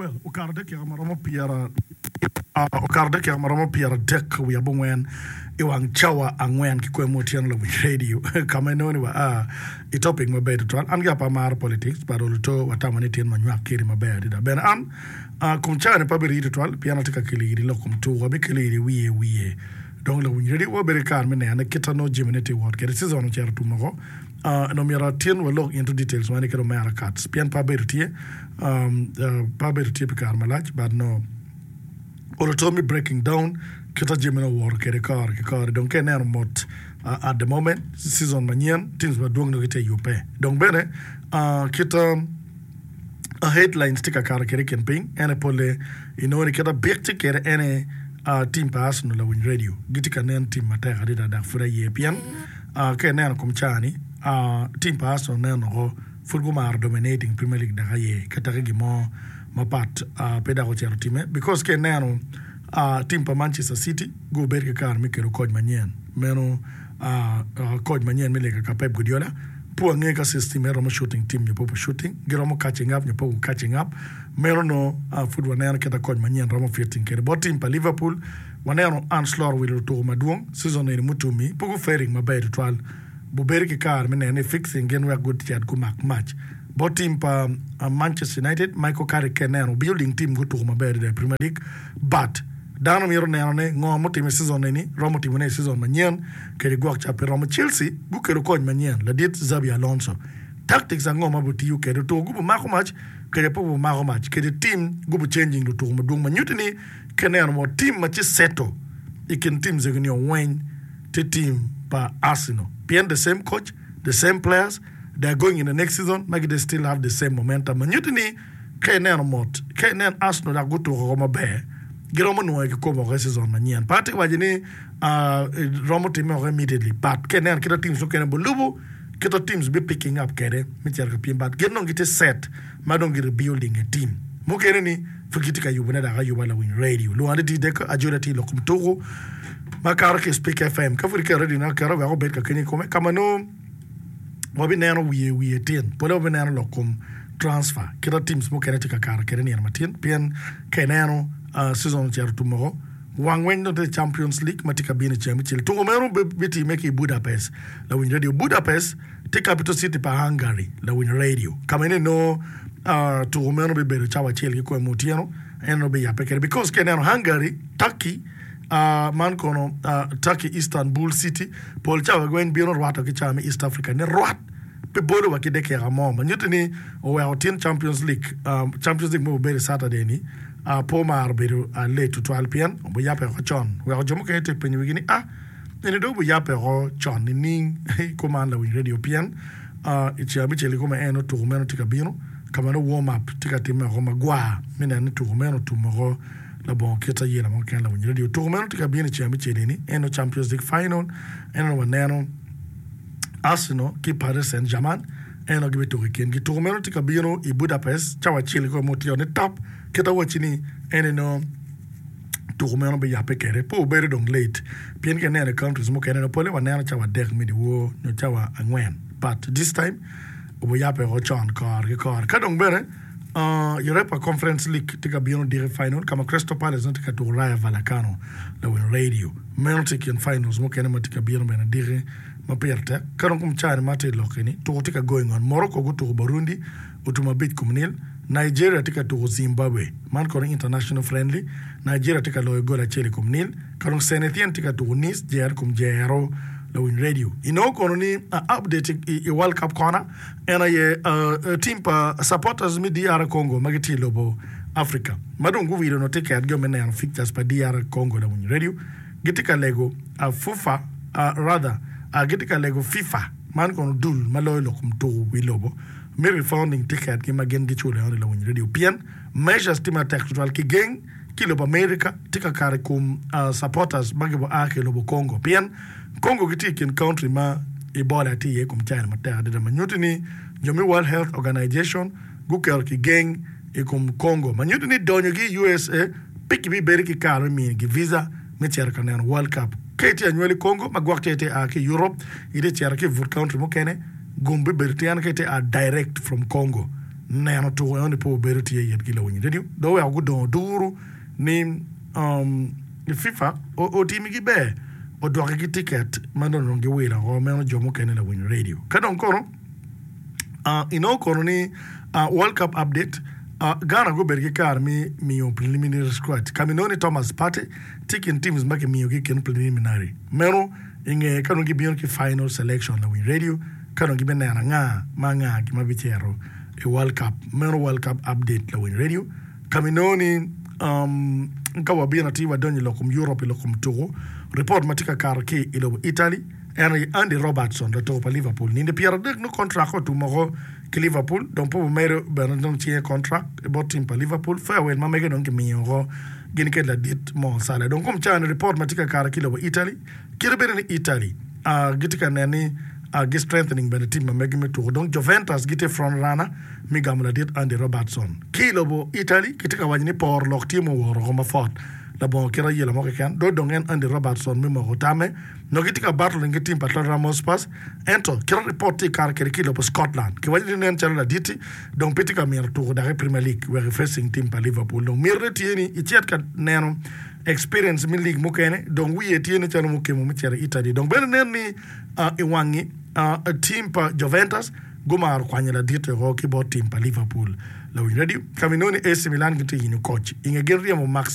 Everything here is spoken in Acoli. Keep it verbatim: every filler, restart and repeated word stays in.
Well, okato dakika ma romo pyera okato dakika ma romo pyeradek wiye abongwen i wang cawa angwen ki kwe mo otyeno lawiny radio ka ma inongo ni wa a i topic maber tutwal. An gira pe amaro politics but oluto watamo ni tin manywak kiri maber adada. Bene an uh, kom cawa ni pe abirii tutwal pien atye ka kelo iri lok kom tuko abikelo iri wiye wiye dong lawiny radio wabedo ki kare me nene kita nongo jami ne tye wot kwede season ocito tum woko. Uh, no myero atin walok into details mani kede omera Kats pien pe abedo tye um, uh, pe abedo tye pi kare malac but no oluto me breaking down kita jami ne owoto kede kore ki kore dong ka ineno mot uh, at the moment season manyen teams madwong dong gitye yubbe dong bene uh, kita uh, headlines tye ka kato kede i kin piny ene pole inongo ni kita bik tye kede ene uh, team pa Arsenal lawiny radio gitye ka nen team matek adada dok pud aye pien uh, ka ineno kom caa ni uh, team pa Arsenal neno ko pud gumaro dominating Premier League dok aye ka take gimo mapat uh, pe dok ocito time because ka ineno uh, team pa Manchester City gubedo ki kare me kelo coach manyen meno uh, uh, coach manyen me lega ka Pep Guardiola pu ange ka system me romo shooting team nyo po shooting giromo catching up nyo po catching up meno no uh, pud waneno kita coach manyen romo fitting kede bot team pa Liverpool waneno Arne Slot wilo tuko madwong season eni mutumi po gu faring maber tutwal bubedo ki kare me neno ni fixing gin wek gucet gumak match bot team pa uh, Manchester United Michael Carrick ke neno building team gutuko maber adada i Premier League but dano myero neno ni ngo mutimo i season eni romo timone i season manyen kede gwok ca pe romo Chelsea gukelo coach manyen ladit Xabi Alonso tactics ango ma butiyo kede tuko gubu mako match kede pe bu mako match kede team gubu changing lutuko madwong ma nyuto ni ke neno mo team ma ci seto i kin teams egi ni oweny ti team pa Arsenal pien the same coach the same players they are going in the next season magi they still have the same momentum ma nyuto ni ka ineno mot ka inen Arsenal dok gutuko ko maber giromo nwoyo kikopo oko i season manyen pe atye waco ni uh, romo time oko immediately but ka ineno kita teams mukene bolubo kita teams be picking up kede me cito ka pyem but gin dong gitye set ma dong gi rebuilding a team mukene ni pud gitye ka yubone dok ayuba lawiny radio lwonga ni Didek ajola tye i lok kom tuko ma kato ki i Speak F M ka pud iketo radio na keto wek obed ka kenyo i kome ka ma nongo wabineno wiye wiye tin pole wabineno lok kom transfer kita teams mukene tye ka kato kede nino matin pien ka ineno uh, season ocito tum oko wang weng dong tye Champions League ma tye ka bino i ceng abicel tuko meno bitime ki i Budapest lawiny radio Budapest tye capital city pa Hungary lawiny radio ka ma ineno uh, tuko meno bibedo cawa acel ki kwe otyeno en biyabbe kede because ka ineno Hungary Turkey uh, man kono uh, Turkey Istanbul City pol cawa gweng bino rwato ki cawa me East Africa ni rwat pe bolo wa ki dakika mo ma nyuto ni oweko tin Champions League um, Champions League mo obedo Saturday ni uh, po maro bedo uh, late tutwal pien oboyabbe oko con weko jo mukene tye penyo wigi ni ah eni dong obiyabbe oko con nining kuman lawiny radio pien uh, i ceng abicel kome en otuko meno tye ka bino ka ma nongo warm up tye ka timme oko magwar me neno ni tuko meno otum oko labongo kit ayela mo keken lawiny radio tuko meno tye ka bino i ceng abicel eni en Champions League final en waneno Arsenal ki Paris Saint-Germain en gibituko i kingi tuko meno tye ka bino i Budapest cawa acel kome otyeno ni top kita wacci ni en eno tuko meno biyabbe kede pe obedo dong late pien ka ineno i countries mukene no pole waneno cawa adek me dyewor nyo cawa angwen but this time obiyabbe oko con kore ki kore ka dong bene uh, Europa Conference League tye ka bino diki final ka ma Crystal Palace tye ka tuko Rayo Vallecano lawiny radio meno tye i kin finals mukene ma tye ka bino bene diki ma pire tek ka dong kom cani ma tye i lok eni tuko tye ka going on Morocco gutuko Burundi otumo abic kom nil Nigeria tye ka tuko Zimbabwe man kono international friendly Nigeria tye ka loyo gol acel i kom nil ka dong Saint Etienne tye ka tuko Nice jer kom jero lawiny radio inongo kono ni uh, update i, i World Cup kona en aye uh, team pa supporters me D R Congo ma gitye i lobo Africa ma dong guwilo no ticket gio me neno fixtures pa D R Congo lawiny radio gitye ka lego uh, FUFA uh, rather uh, gitye ka lego FIFA man kono dul ma loyo lok kom tuko wi lobo me refunding ticket gi ma gin giculo eno lawiny radio pien measures tye matek tutwal ki geng ki lobo America tye ka kare kom uh, supporters ma gibo a ki lobo Congo pien Congo gitye i kin country ma Ebola tye iye kom China matek adada ma nyuto ni jo me World Health Organization guketo ki geng i kom Congo ma nyuto ni donyo gi i U S A pe kibibedo ki kare me minigi visa me cito ka neno World Cup ka itye anywali Congo ma gwok tye itye a ki Europe itye cito ki i but country mukene gum bibedo tyen ka itye a direct from Congo. Neno tuko enoni pe obedo tye itgi lawiny radio dong oweko gudongo duru ni um, FIFA otimigi ber odwokigi tiket ma dong onongo giwilo oko meno jo mukene lawiny radio. Ka dong kono uh, inongo kono ni uh, World Cup update uh, Ghana gubedo ki kare me miyo preliminary squad ka inongo ni Thomas Partey tye kin teams ma kimiyogi kin preliminary meno i ka dong gibino ki final selection lawiny radio ka dong gibineno anga ma anga ma bicito i World Cup meno World Cup update lawiny radio ka inongo ni um, ka wabino atir wadonyo i lok kom Europe i lok kom tuko report ma tye ka kato ki i lobo Italy en aye Andy Robertson latuko pa Liverpool ninde pyeradek nongo contract otum oko ki Liverpool dong pe omedo bene dong cinge contract bot team pa Liverpool farewell ma mege dong kimiyo oko gin kede ladit Mo Salah dong kom cani report ma tye ka kato ki i lobo Italy kite bene ni Italy uh, gitye ka neno ni uh, gi strengthening bene team ma megi me tuko dong Juventus gitye front runner mi gamo ladit Andy Robertson ki i lobo Italy kitye ka waco ni por lok tye muworo oko mafot labongo kit ayela mo keken do dong en Andy Robertson mi moko tamme no gitye ka battling ki team pa Tottenham Hotspur ento kit report tye kare kede ki i lobo Scotland kiwaco ni nen calo laditi dong pe tye ka mito tuko dok i Premier League wek i facing team pa Liverpool dong mitine tye ni icit ka neno experience mi league mukene dong wiye tye ni calo mukemo me cito i Italy dong bene nen ni uh, i wangi uh, team pa Juventus gumaro kwanyo ladit oko ki bot team pa Liverpool lawiny radio ka inongo ni AC Milan gitye yenyo coach inge gin ryemo Max